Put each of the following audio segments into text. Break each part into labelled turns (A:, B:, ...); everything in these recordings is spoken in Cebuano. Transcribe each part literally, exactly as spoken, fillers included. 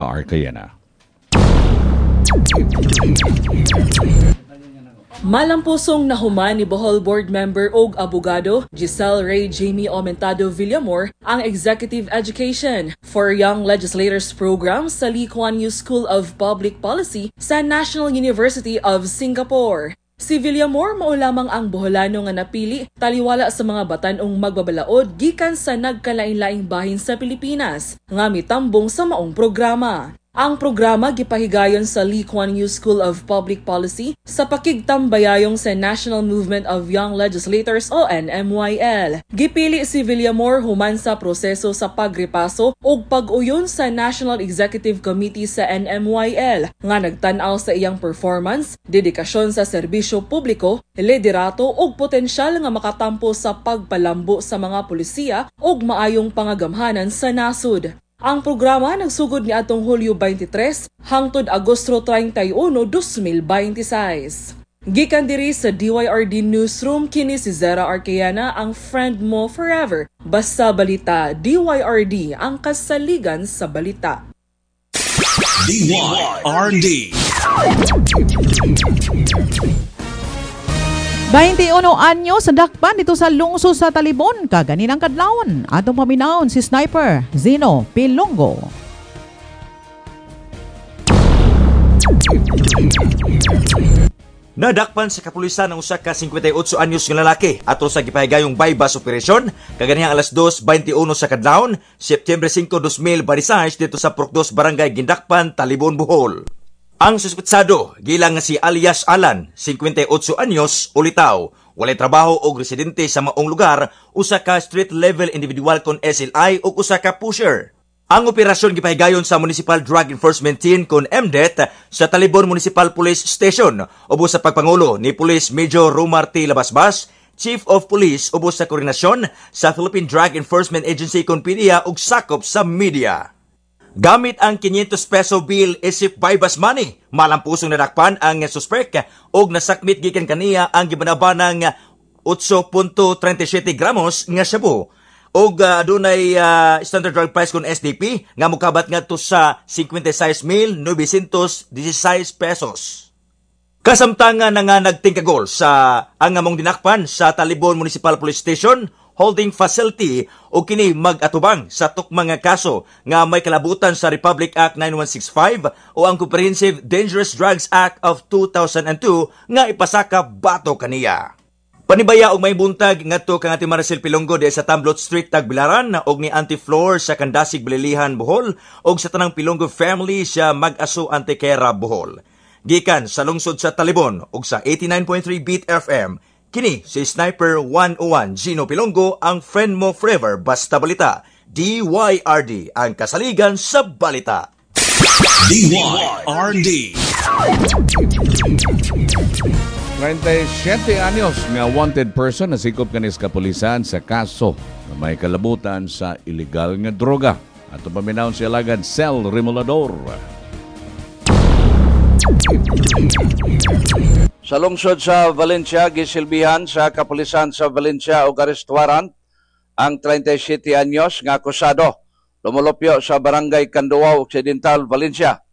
A: Arcayana.
B: Malampusong nahuman ni Bohol Board Member og abogado Giselle Ray Jamie Aumentado Villamor ang Executive Education for Young Legislators Program sa Lee Kuan Yew School of Public Policy sa National University of Singapore. Si Villamor mao lamang ang Boholano nga napili taliwala sa mga batan-ong magbabalaod gikan sa nagkalain-laing bahin sa Pilipinas nga mitambong sa maong programa. Ang programa gipahigayon sa Lee Kuan Yew School of Public Policy sa pakigtambayayong sa National Movement of Young Legislators o N M Y L. Gipili si Villamor human sa proseso sa pagrepaso ug pag-uyon sa National Executive Committee sa N M Y L nga nagtan-aw sa iyang performance, dedikasyon sa serbisyo publiko, liderato ug potensyal nga makatampo sa pagpalambo sa mga pulisiya ug maayong pangagamhanan sa nasod. Ang programa nagsugod ni atong Hulyo twenty-three hangtod Agosto thirty-one, dos mil twenty-six. Gikan diri sa D Y R D Newsroom, kini si Zera Arqueana, ang friend mo forever. Basta balita, D Y R D, ang kasaligan sa balita.
C: D Y R D
D: twenty-one anyo sa dakpan dito sa lungsod sa Talibon, kaganinang kadlawon. Atong paminawon si Sniper Zeno Pilongo.
E: Nadakpan sa kapulisan ang usa ka fifty-eight anyos nga lalaki atol sa gipahigayong bypass operation kaganihang alas dos twenty-one sa kadlawon, Septyembre five, dos mil twenty-six dito sa Purok dos, Barangay Gindakpan, Talibon, Bohol. Ang suspetsado gilang nga si alias Alan, fifty-eight anyos, ulitaw, walay trabaho og residente sa maong lugar, usa ka street level individual kon S L I ug usa ka pusher. Ang operasyon gipahigayon sa Municipal Drug Enforcement Team kon M D E T sa Talibon Municipal Police Station ubos sa pagpangulo ni Police Major Romar T. Labasbas, Chief of Police ubos sa koordinasyon sa Philippine Drug Enforcement Agency kon P D I A ug sakop sa media. Gamit ang five hundred peso bill isip bypass money, malampusong nadakpan ang suspek og nasakmit gikan kaniya ang gibanabanang eight point three seven gramos nga shabu. Og uh, adunay uh, standard drug price kon S D P nga mokabat ngadto sa fifty-six mil nine sixteen pesos. Kasamtangan na nga nagtingkagol sa ang among dinakpan sa Talibon Municipal Police Station holding facility o kini mag-atubang sa tukmang nga kaso nga may kalabutan sa Republic Act nine one six five o ang Comprehensive Dangerous Drugs Act of two thousand two nga ipasaka bato kaniya. Panibaya og may buntag ngadto kang Ate Maricel Pilongo di sa Tamblot Street, Tagbilaran og ni Auntie Flor sa Kandasig, Balilihan, Bohol og sa tanang Pilongo family sa Mag-aso, Antequera, Bohol. Gikan sa lungsod sa Talibon og sa eighty-nine point three Beat F M, kini si Sniper one oh one Gino Pilongo, ang friend mo forever basta balita. D Y R D, ang kasaligan sa balita.
C: D Y R D
A: thirty-seven anyos nga wanted person nasikop kanis kapulisan sa kaso na may kalabutan sa illegal nga droga. Ato paminawon si alagad Sel Remolador.
F: Sa lungsod sa Valencia, gisilbihan sa kapulisan sa Valencia og arrest warrant ang thirty-seven anyos nga akusado lumulupyo sa Barangay Canduao, Occidental, Valencia.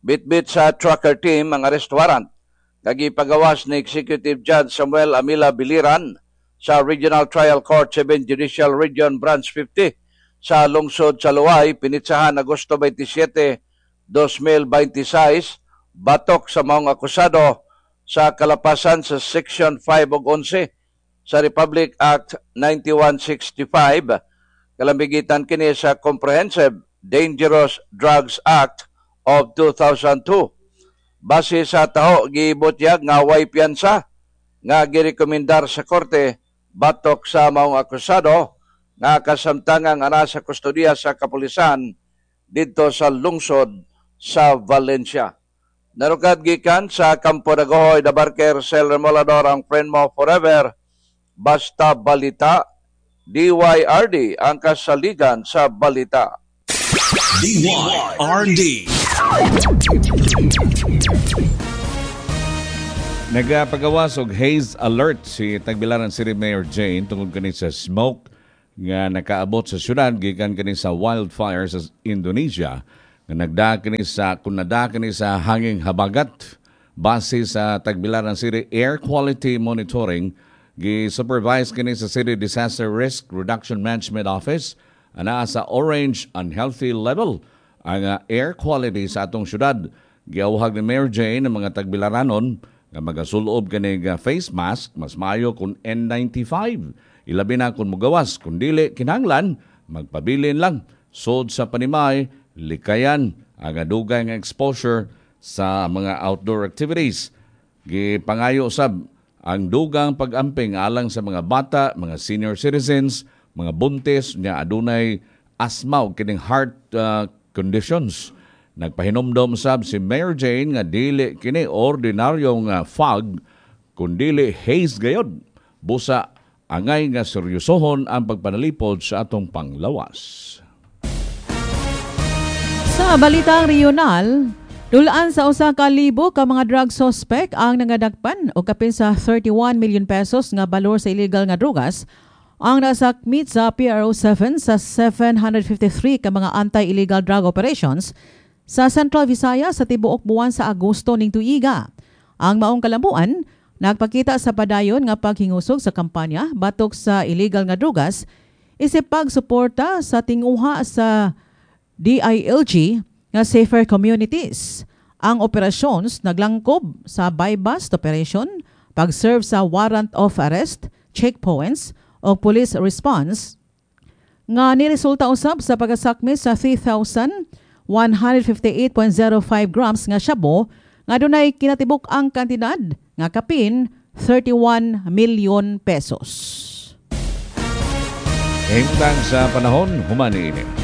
F: Bitbit sa tracker team ang arrest warrant. Kagipagawas ni Executive Judge Samuel Amila Biliran sa Regional Trial Court seven Judicial Region Branch fifty sa lungsod sa Luay, pinitsahan Agosto twenty-seven, dos mil twenty-six, batok sa maong akusado sa kalapasan sa Section five ug eleven sa Republic Act ninety-one sixty-five, kalambigitan kini sa Comprehensive Dangerous Drugs Act of two thousand two. Base sa taho, gibutyag nga way piyansa nga girekomendar sa korte batok sa maong akusado nga kasamtangang ana sa kustodiya sa kapulisan didto sa lungsod sa Valencia. Narukad gikan sa Kampo Dagohoy, Dabarker, Sel Remolador, ang friend mo forever, basta balita, D Y R D, ang kasaligan sa balita.
C: D Y R D
A: Nagapagawas og haze alert si Tagbilaran City Mayor Jane tungod kani sa smoke nga nakaabot sa syudad gikan kani sa wildfire sa Indonesia Nga nagda kini sa kung nada kini sa hanging habagat base sa Tagbilaran City Air Quality Monitoring, gi-supervise kini sa City Disaster Risk Reduction Management Office, anaa sa orange unhealthy level ang uh, air quality sa atong syudad. Giawhag ni Mayor Jane ang mga Tagbilaranon nga magasulob kini face mask, mas maayo kung N ninety-five. Ilabi na kung mugawas, kung dili kinahanglan, magpabilin lang. Sod sa panimay, likayan ang adugay nga exposure sa mga outdoor activities. Gipangayo sab ang dugang pag-amping alang sa mga bata, mga senior citizens, mga buntis nga adunay asthma o kining heart uh, conditions. Nagpahinomdom sab si Mayor Jane nga dili kini ordinaryong uh, fog kundili haze gayod. Busa angay nga seryosohon ang pagpanalipod sa atong panglawas.
D: Sa balitang regional, dulaan sa usa ka libo ka mga drug suspect ang nangadakpan o kapin sa thirty-one million pesos nga balor sa illegal nga drogas ang nasakmit sa P R O seven sa seven hundred fifty-three ka mga anti-illegal drug operations sa Central Visayas sa tibuok buwan sa Agosto ning tuiga. Ang maong kalambuan nagpakita sa padayon nga paghingusog sa kampanya batok sa illegal nga drogas isip pagsuporta sa tinguha sa D I L G nga Safer Communities. Ang operasyons naglangkob sa buy-bust operation, pag-serve sa warrant of arrest, checkpoints o police response nga niresulta usab sa pagkasakmi sa three thousand one hundred fifty-eight point zero five grams nga shabu nga dunay kinatibuk ang kantidad nga kapin thirty-one million pesos.
A: Himtang sa panahon, human ini.